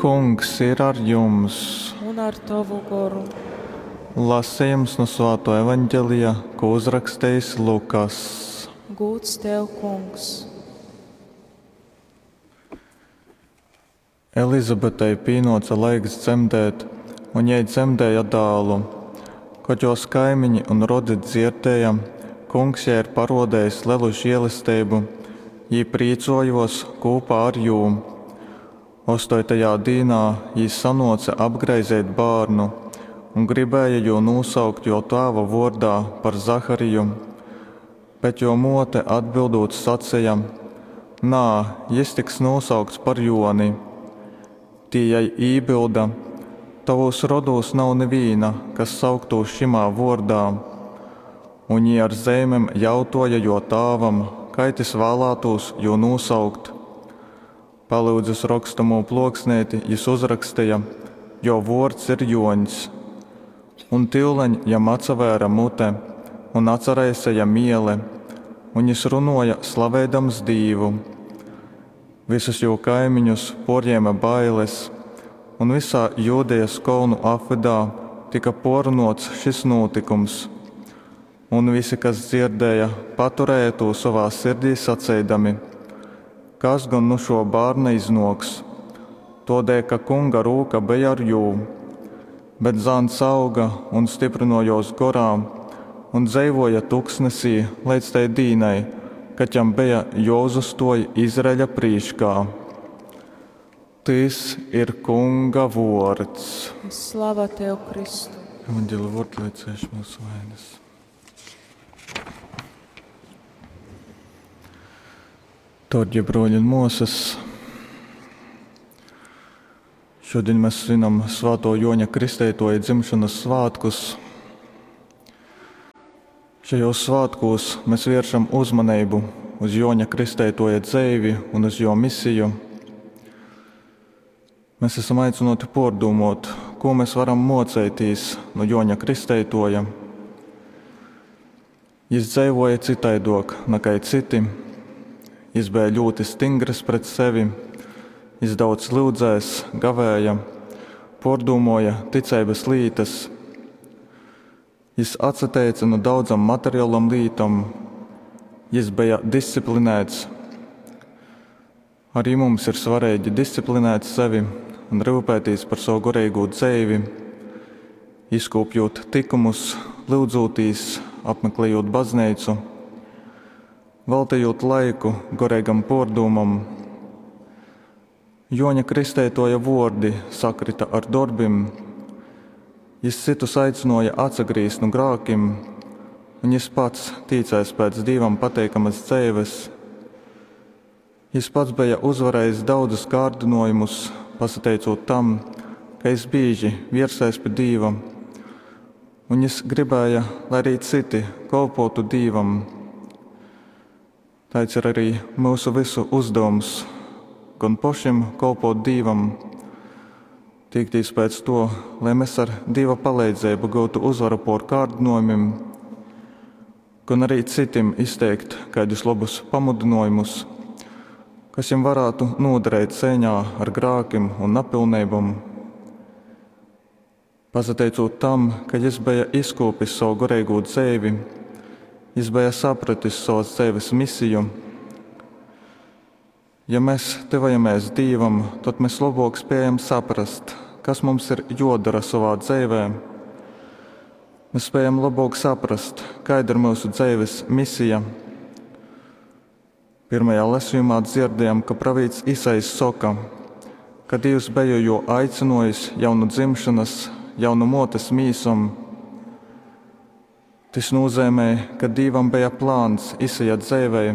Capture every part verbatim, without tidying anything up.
Kungs ir ar jums! Un ar tovu goru. Lasījums no Svāto evaņģelija, ko uzrakstījis Lukas. Gūds tev, Kungs! Elizabetei pienāca laiks dzemdēt, un jai dzemdēja dēlu. Kad jos kaimiņi un rodi dzirdēja, kungs jai ir parodējis lielu žēlastību, jī prīcojos kopā ar jū. Ostoitajā dīnā jī sanoca apgraizīt bērnu un gribēja jū nosaukt jo tēva vārdā par Zahariju. Bet jo mote atbildot sacīja: Nā, jis tiks nosaukts par Joni. Tī jai ībilda: Tavūs rodūs nav neviena, kas sauktūs šimā vārdā. Un jī ar zeimem jautoja jo tāvam, kai tys vēlētūs jū nosaukt. Palūdzis rokstamū ploksnīti, jis uzrakstīja, jo vārds ir Joņs. Un tyuleņ jam atsavēra mute un atsaraisīja miele, un jis runoja slaveidams Dīvu. Visus jū kaimiņus porņēma bailes, un visā Jūdejas kolnu apvidā tika porunots šis notikums. Un visi, kas dzirdēja, paturēja to savā sirdī saceidami: Kas gan nu šo bērna iznōks? Todēļ, ka kunga rūka bija ar jū. Bet zāns auga un stiprinojos gorā un dzeivoja tuksnesī līdz tai dīnai, kad jam bija jāuzastoj Izraeļa prīškā. Tys ir kunga vārds. Slava tev, Kristu! Evanģēla vārds, lai cieš mūsu vainas. Dārgie broļi un māsas, šodien mēs svinam Svēto Joņa Kristeitoja dzimšanas svētkus. Šajos svētkos mēs vēršam uzmanību uz Joņa Kristeitoja dzeivi un uz jo misiju. Mēs esam aicināti pārdomāt, ko mēs varam mocēties no Joņa Kristeitoja. Jis dzeivoja citaidok nekā citi. Jis bija ļoti stingrs pret sevi, jis daudz lūdzēs, gavēja, pārdomāja ticības lītas. Jis atsateica no daudzam materiālam lītam, jis bija disciplinēts. Arī mums ir svarīgi disciplinēt sevi un rūpēties par savu garīgo dzīvi, izkopjot tikumus, lūdzoties, apmeklējot baznīcu, veltījot laiku garīgam pārdomam. Joņa Kristeitoja vārdi sakrita ar darbim. Jis citus aicināja atsagrīzt no grākim, un jis pats tīcēs pēc Dievam pateikamas dzīves. Jis pats bija uzvarējis daudzus kārdinājumus, pasateicot tam, ka jis bieži viersēs pie Dieva, un jis gribēja, lai arī citi kalpotu Dievam. Tāds ir arī mūsu visu uzdevums, gan pašiem kalpot Dievam, tiekties pēc to, lai mēs ar Dieva palīdzību gūtu uzvaru pār kārdinājumiem, gan arī citiem izteikt kādus labus pamudinājumus, kas viņam varētu noderēt cīņā ar grākiem un napilnībām. Pasateicot tam, ka jis bija izkopis savu garīgo dzīvi, jis bija sapratis savas dzīves misiju. Ja mēs tuvojamies Dievam, tad mēs labāk spējam saprast, kas mums ir jodara savā dzīvē. Mēs spējam labāk saprast, kāda ir mūsu dzīves misija. Pirmajā lasījumā dzirdējām, ka pravīts Isais saka, ka Dievs bija jo aicinājis jau no dzimšanas, jau no motes mīsam. Tas nozīmē, ka Dievam bija plāns Isaja dzīvei.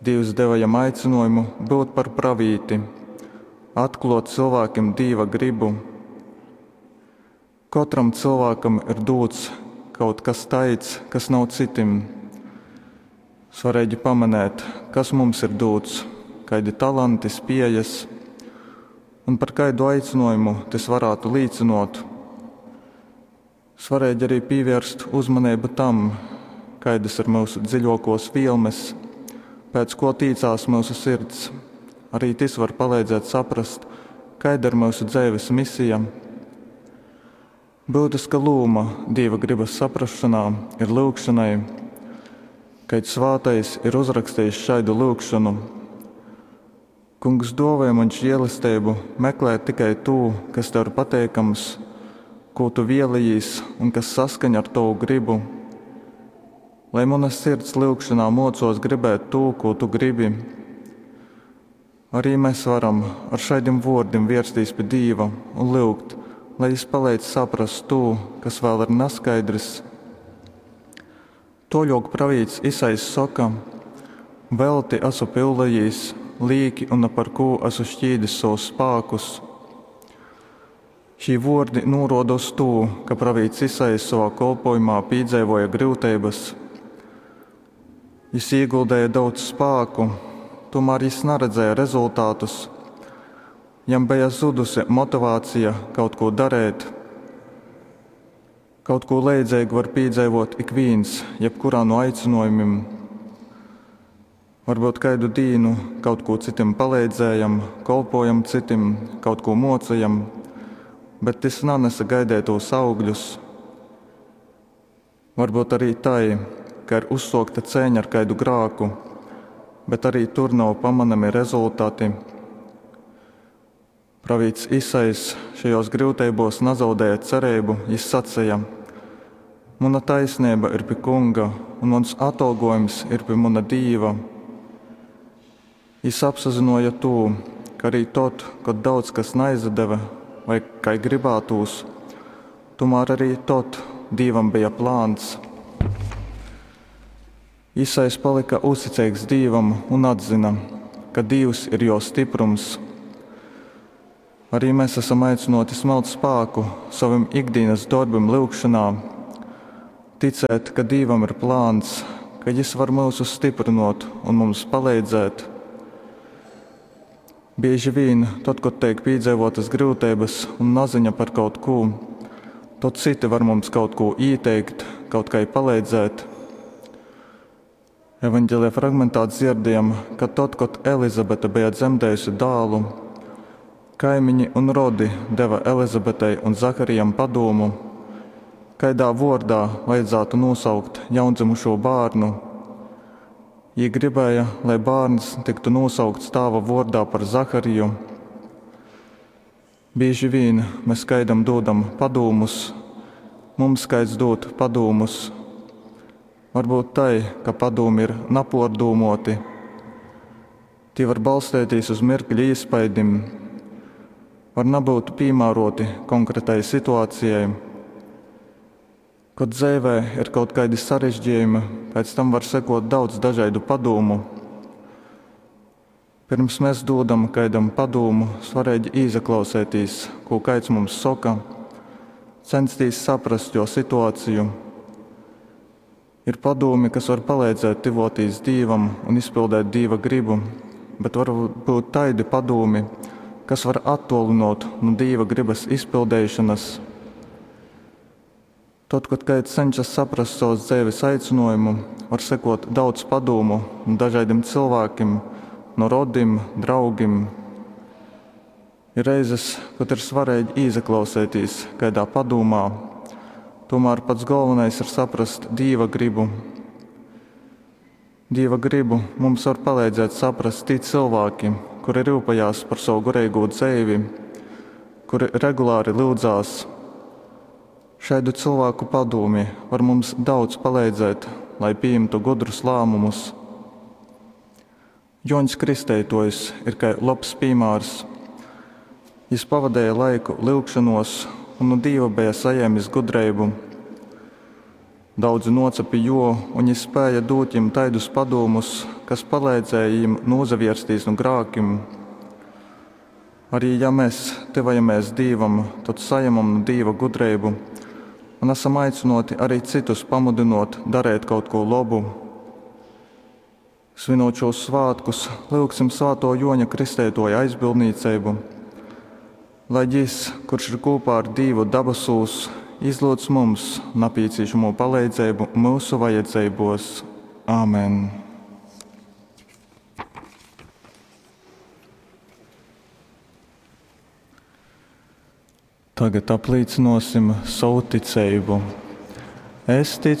Dievs deva jam aicinājumu būt par pravīti, atklāt cilvēkiem Dieva gribu. Katram cilvēkam ir dots kaut kas tāds, kas nav citim. Svarīgi pamanīt, kas mums ir dots, kādi talanti, spējas un par kādu aicinājumu tas varētu līdzinot. Svarīgi arī pievērst uzmanību tam, kādas ir mūsu dziļākos vielmes, pēc ko tīcās mūsu sirds. Arī tas var palīdzēt saprast, Kaida ir myusu dzeives misija? Byutyska lūma Dīva grybas saprasšonā ir lyugšonai. Kaids svātais ir uzrakstejis šaidu lyugšonu: Kungs, dōvoj maņ želesteibu meklēt tikai tū, kas Tev ir pateikams, kū Tu vēlejīs un kas saskaņ ar Tovu grybu. Lai muna sirds lyugšonā mōcōs gribēt tū, kū Tu gribi. Arī mēs varam ar šaidim vōrdim vērstīs pi Dīva un lyugt, lai Jys paleidz saprast tū, kas vēl ir naskaidrs. Toļok pravīts Isajs soka: Velti asu pyulējīs, līki un na par kū asu šķīdis savus spākus. Šī vōrdi nūroda uz tū, ka pravīts Isajs savā kolpojumā pīdzeivoja gryuteibas. Jis ieguldēja daudz spāku, tomēr jis naredzēja rezultātus. Jam bija zudusi motivācija kaut ko darēt. Kaut ko leidzīgu var piedzīvot ik viens, jebkurā no aicinājumiem. Varbūt kaidu dīnu kaut ko citim palīdzējam, kolpojam citim, kaut ko mocījam, bet tas nanesa gaidētos augļus. Varbūt arī tai, ka ir uzsokta cēņa ar kaidu grāku, bet arī tur nav pamanami rezultāti. Pravīts Isajs šajos gryuteibos nazaudēja cerību, jis sacīja: Muna taisnība ir pie kunga, un mans atalgojums ir pie muna dīva. Jis apsazinoja tū, ka arī tad, kad daudz kas neizdeva vai kā gribētūs, tomēr arī tad Dīvam bija plāns. Isajs palika uzticīgs Dīvam un atzina, ka Dievs ir jo stiprums. Arī mēs esam aicināti smelt spēku savim ikdienas darbim lyugšanā, ticēt, ka Dīvam ir plāns, ka Jis var mūsus stiprinot un mums palīdzēt. Bieži vien, tad, kad tiek piedzīvotas grūtības un naziņa par kaut ko, tad citi var mums kaut ko ieteikt, kaut kā palīdzēt. Evanģēlijā fragmentā dzirdējam, ka tad, kad Elizabete bija dzemdējusi dēlu, kaimiņi un rodi deva Elizabetei un Zaharijam padomu, kaidā vordā vajadzētu nosaukt jaundzimušo bērnu. Jī gribēja, lai bērns tiktu nosaukts tēva vordā par Zahariju. Bieži vien mēs kaidam dodam padūmus, mums kaids dod padūmus. Varbūt tai, ka padūmi ir napordūmoti. Tie var balstēties uz mirkļa iespaidim, var nebūt piemēroti konkrētai situācijai. Kad dzīvē ir kaut kādi sarežģījumi, pēc tam var sekot daudz dažādu padomu. Pirms mēs dodam kaidam padomu, svarīgi izaklausēties, ko kaids mums saka, censties saprast jo situāciju. Ir padomi, kas var palīdzēt tivotīs Dīvam un izpildēt Dīva gribu, bet var būt taidi padomi, kas var attolinot no Dīva gribas izpildīšanas. Tad, kad kāds cenšas saprast savas dzīves aicinājumu, var sekot daudz padomu no dažādiem cilvēkiem, no rodim, draugiem. Ir reizes, kad ir svarīgi izaklausēties kādā padomā, tomēr pats galvenais ir saprast Dīva gribu. Dīva gribu mums var palīdzēt saprast tie cilvēki, kuri rūpējās par savu garīgo dzīvi, kuri regulāri lūdzās. Šādu cilvēku padomi var mums daudz palīdzēt, lai pieņemtu gudrus lēmumus. Joņs Kristeitojs ir kā labs piemērs. Jis pavadīja laiku lūgšanos un no Dieva bija saņēmis gudrību. Daudzi noca pie jo, un jis spēja dot viņiem taidus padomus, kas palīdzēja viņiem nozavirsties no grākim. Arī ja mēs tuvojamies Dievam, tad saņemam no Dieva gudrību un esam aicināti arī citus pamudinot darīt kaut ko labu. Svinot šos svētkus, lūgsim Svēto Joņa Kristētoja aizbildniecību, lai jis, kurš ir kopā ar Dievu dabasūs, izlūdz mums nepieciešamo palīdzību mūsu vajadzībos. Āmen! Tagad aplīcynōsim sovu ticeibu. Es ticu